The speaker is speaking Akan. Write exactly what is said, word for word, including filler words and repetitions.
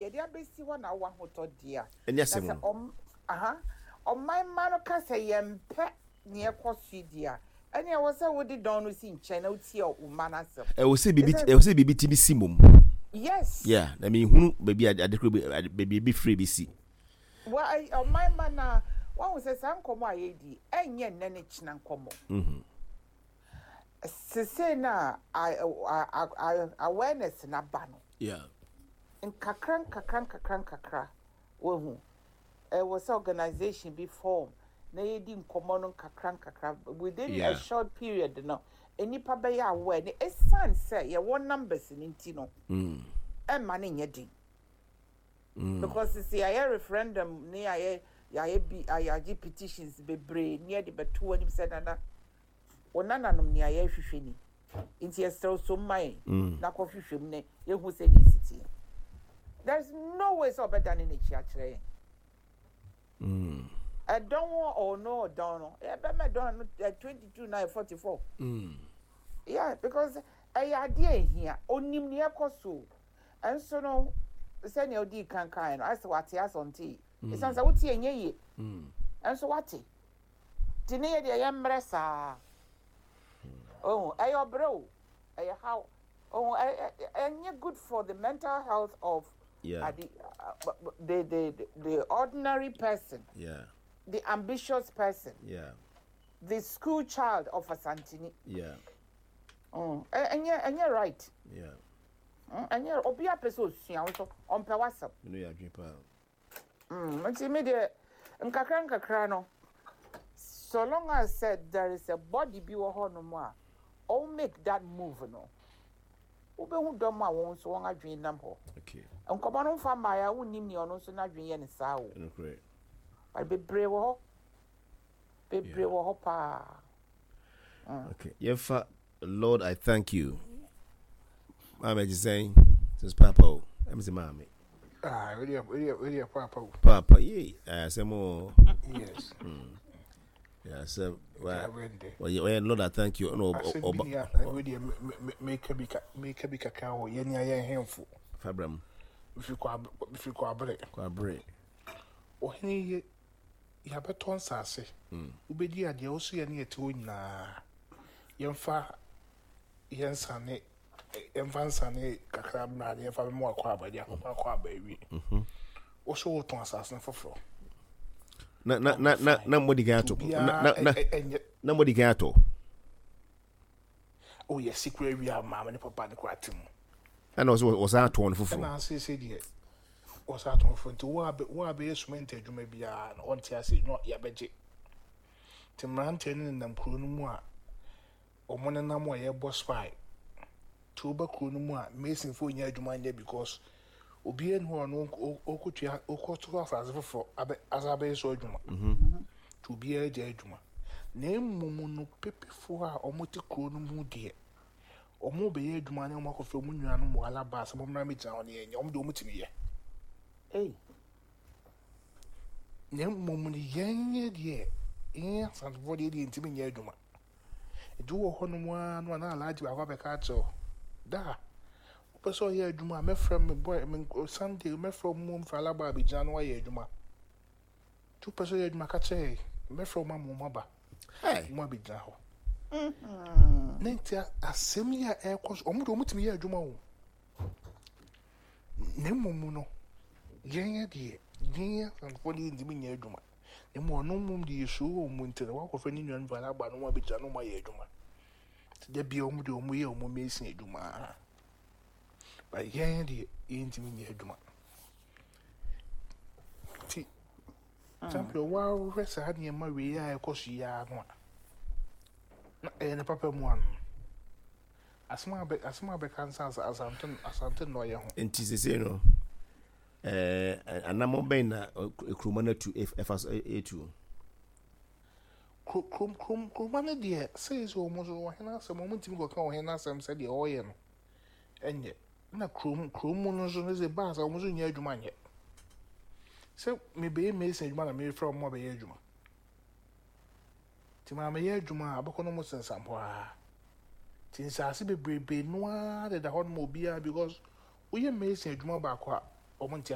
Yɛde abɛsi hɔ na wowɔ ahotɔ deɛ a, ɛne na asɛm sɛ no. ɔm aha ɔman mma no ka sɛ yɛmpɛ neɛ ɛkɔ so yi deɛ a, ɛne ɛwɔ sɛ wode dɔn no si nkyɛn na wotie wo mma no asɛm. Ɛwɔ sɛ biribi Ɛsɛ ɛwɔ sɛ biribi ti bi si mom. Yes. Yeah, na mehunu baabi a ade koro bi ade- baabi ebi firi bi si. Wa ɛ- ɔman mma no a wahu sɛ saa nkɔmmɔ a yɛdi ɛnyɛ nnɛ ne kyena nkɔmmɔ. Mhm. Sesei no a a- a- a- a- awareness na ba no, yeah nkakra nkakra nkakra nkakra, wahu ɛwɔ sɛ organisation bi form na yɛdi nkɔmmɔ no nkakra nkakra. Within Yeah. a short period no, nnipa bɛyɛ aware ne ɛsiane sɛ yɛwɔ numbers no nti no, mm. ɛmma no nyɛ den, Mm. because sisi yɛayɛ referendum ne yɛayɛ yɛayɛ bi, yɛagye petitions bebree ne yɛde bɛto anim sɛ, "Nana, wo nananom, nea yɛrehwehwɛ ni, nti yɛsrɛ wo so mma yɛn Mm. na kɔhwehwɛ mu ne yɛhu sɛ ne ɛsi teɛ." There is no way sɛ ɔbɛdane n'akyi akyerɛ yɛn. Mm. Ɛdɔn wɔ ɔno ɔdɔn no, yɛbɛma ɛdɔn no twenty two na forty four. Mm. Yeah, because ɛyɛ adeɛ a ehia. Onim nea ɛkɔ so, ɛnso no sɛnea odi kankan no, asɛ wate asɛ ɔnte, esan sɛ wote ɛnyɛ yie. Mm. Ɛnso wate te ne yɛ deɛ yɛ mmerɛ saa. Oh, ɛyɛ ɔbrɛ o, ɛyɛ how oh, ɛ ɛ ɛnyɛ good for the mental health of yeah uh, the, uh, the the the ordinary person, yeah the ambitious person, yeah the school child of Asantini. yeah mm. ɛ- ɛnyɛ ɛnyɛ right. yeah Mm, ɛnyɛ obi apɛ sɛ osua wo so ɔmpɛ w'asɛm. Mene yɛ adwene paa. Mm, nti mi deɛ, nkakra nkakra no, so long as sɛ there is a body bi wɔ hɔnom a ɔn make that move no, wobɛhu dɔm a wɔn nso wɔn adwene nam hɔ. Okay nkɔmɔ no nfa mmaa a wonnim nea ɔno nso n'adwene yɛ ne saa o. Ɛnokorɛ. But bebree wɔ hɔ, bebree Yeah. wɔ hɔ paa. Okay, yɛmfa Lord I thank you. Maame agye sɛn since papa o, ɛm sɛ maame. Ah, really, really, really, papa. Papa yei asɛm o. Yes. Yeah, asɛm wa. Yeah, Wendy. Ɔyɛ ɔyɛ Lord I thank you ɛna Asɛm bi ɔba. ni a wei deɛ meka bi ka meka bi kakra wɔ yɛn a yɛn hemfo. Fabra mu. Mfiri kɔ ab- mfiri kɔ abere. Kwabere. Ɔhene yɛ yɛabɛtɔ nsase. Mm. Wobɛdi adeɛ wo so yɛ ne yɛte hɔ nyinaa. Yɛmfa yɛnsane, yɛmfa nsane kakra mmra ne yɛmfa bɛma wakɔ aba de akɔkɔ akɔ aba awie. Wo so wotɔn asase no foforɔ. na na na na na mo di kan ato na Obiara na na ɛ- ɛ- ɛnyɛ na mo di kan atɔ. O, yɛsi kura awie a maame ne papa ne kura te mu. Ɛna ɔsɛ ɔsan atɔn no foforɔ. Ɛna asese deɛ wɔsa atɔn foforɔ, nti wo a bɛ- wo a bɛyɛ cement adwuma biara no, ɔnte ase no, yɛbɛgye. Nti mmeranteɛ no nenam kuro no mu a ɔmo nenam a yɛbɔ spy, nti woba kuro no mu a, masonfoɔ nyɛ adwuma nyɛ because obiara ni hɔ a ɔno ɔkɔ- ɔkɔtua ɔkɔto asase foforɔ abɛ asa abɛyɛ so adwuma, nti obiara gya adwuma. Na mmom no, pepefoɔ a ɔmo te kuro no mu deɛ, ɔmo bɛyɛ adwuma ne ɔmo akɔfrɛ ɔmo nuanom wɔ alaba sɛ ɔmo mmra mmɛgyina hɔ ne yɛnyɛ. Ɔmo deɛ, ɔmo tumi yɛ. Ei. Na mmom no, yɛn yɛ deɛ, yɛn Asantefoɔ deɛ deɛ ntumi nyɛ adwuma. Nti wowɔ hɔnom ara no a, na Alhaji baako abɛka akyerɛ wo da wopɛ sɛ ɔyɛ adwuma a, mɛfrɛ me boy me nk- Sunday mɛfrɛ wo mu mfra alaba abɛgyina na wayɛ adwuma. Nti wopɛ sɛ ɔyɛ adwuma, ka kyerɛ yɛn, mɛfrɛ wo ma mo aba Hey. mo abɛgyina hɔ. Na nti a- asɛm yi a ɛrekɔ so, ɔmo de ɔmo tumi yɛ adwuma o. Na mmom no, yɛn yɛ deɛ, yɛn Asantefoɔ deɛ ntumi nyɛ adwuma. Na mmom ɔno mmom deɛ, yɛsuro wɔ mu nti no, wakɔfrɛ ne nuanom fa aba na ɔmo abɛgyina na ɔmo ayɛ adwuma. Nti da bia ɔmo deɛ, ɔmo yɛ ɔmo mason adwuma, but yɛn deɛ, yɛntumi nyɛ adwuma. Nti champion, woahwɛ saa nneɛma wei a ɛkɔ so yi ara no a, na ɛyɛ ne papa mu ano asɛm a bɛ asɛm a bɛka nsa asa asante asante nnɔyɛ ho. Nti sese no, ɛɛ anammɔn bɛn na kuroma no atu ɛfa so ɛtu? Kuro kurom kurom kuroma no deɛ, sɛyi sɛ wɔn nso ɔhene asɛm, wɔn ntumi kɔka ɔhene asɛm sɛdeɛ ɔreyɛ no ɛnyɛ. Na kurom kurom mu no nso no, sɛ baasa wɔn nso nyɛ adwuma nyɛ sɛ mebɛyɛ mason adwuma na mefrɛ wɔn abɛyɛ adwuma. Nti maa meyɛ adwuma a, abɛkɔ no mo sensam hɔ ara. Nti nsaase bebrebe noa deda hɔ nom obiara because woyɛ mason adwuma baako a, wɔn nte.